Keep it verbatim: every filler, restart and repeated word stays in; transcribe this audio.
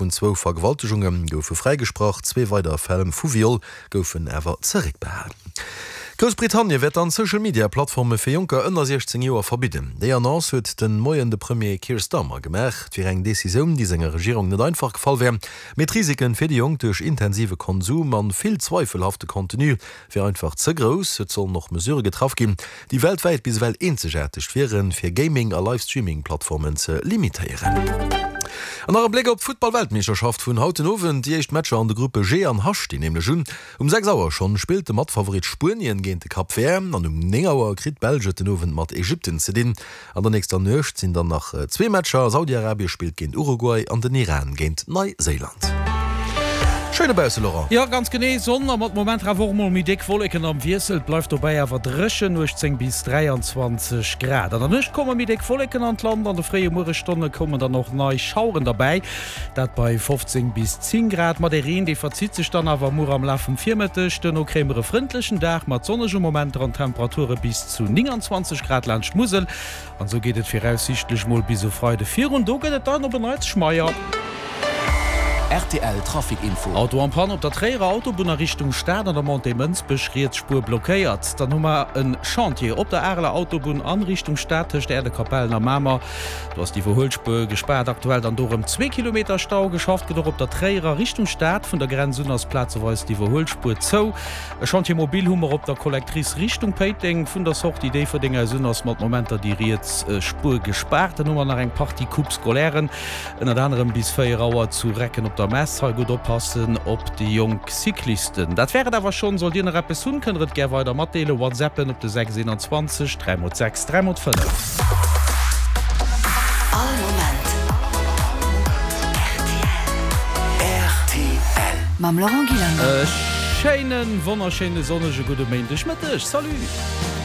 vun zwou Vergewaltegunge goufe fräigesprach, zwee weider Fäll vu Viol goufen awer zeréckbehalen. Groussbritannien wäert dann Social-Media-Plattforme fir Jonker ënner siechzéng Joer verbidden. Déi Annonce huet de Moien de Premier Keir Starmer gemaach. Et wier eng Decisioun, déi senger Regierung net einfach gefall wär, mee d'Risiken fir déi Jonk duerch intensive Konsum an vill zweifelhafte Contenu wier einfach ze grouss. Et sollen och Mesurë getraff ginn, déi weltwäit bis ewell eenzegaarteg wieren, fir Gaming a Live-Streaming-Plattformen ze limitéieren. An nach e Bléck op d'Futtball-Weltmeeschterschaft vun haut den Owend. Déi éischt Matcher an de Gruppe G an H stinn nämlech un. Um sechs Auer schonn spillt de Matfavorit Spuenien géint de Cap Vert an um néng Auer kritt d'Belsch et den Owend mat Ägypten ze dinn. An der nächster Nuecht sinn dann nach zwee Matcher, Saudi-Arabie spillt géint Uruguay an den Iran géint Neiséiland. Schéin dobausse, Laurent. Jo, ganz genee, Sonn a mat Momenter awer och mol méi déck Wolleken am Wiessel. Et bleift dobäi awer dréchen, uechtzéng bis dräianzwanzeg Grad. An der Nuecht komme méi déck Wolleken an d'Land, an de fréie Mueresstonne kommen dann och nei Schaueren derbäi, dat bei fofzéng bis zéng Grad. Ma de Reen, dee verzitt sech dann awer muer am Laf vum Virmëtteg. Duerno kréie mer e frëndlechen Dag mat sonnege Momenter an Temperature bis zu nénganzwanzeg Grad laanscht d'Musel. An esou geet et viraussiichtlech mol bis e Freide virun, do gëtt et dann op en Neits schmeier. Rtl Trafic Info. Auto en panne op der Tréierer Autobunn a Richtung Stad an der Montée Mënsbech, riets Spuer blockéiert. Dann hu mer en Chantier op der Areler Autobunn an Richtung Stad tëscht Äerdekapellen a Mamer. Do ass d'Iwwerhuelspuer gespaart. Aktuell dann do rëm zwee Kilometer Stau. Geschafft gëtt och op der Tréierer Richtung Stad. Vun der Grenz un ass plazeweis d'Iwwerhuelspuer zou. E Chantier mobile hu mer op der Collectrice Richtung Péiteng. Vun der Sortie Déifferdeng aus un ass mat Momenter déi riets Spuer gespaart. Dann hu mer nach eng Partie Coupe scolairen, ënnert anerem bis véier Auer zu Recken op der Mess. Hei gutt oppassen op déi jonk Cyclisten. Dat wär et awer schonn. Sollt Dir nach eppes hunn, kënnt der et gär weider matdeelen. Whatsappen op de sechs eenanzwanzeg dräi mol sechs dräi mol fënnef. All Moment rtl. Mam Laurent Gillander. E schéinen, wonnerschéine sonnege gudde Méindegmëtteg. Salut!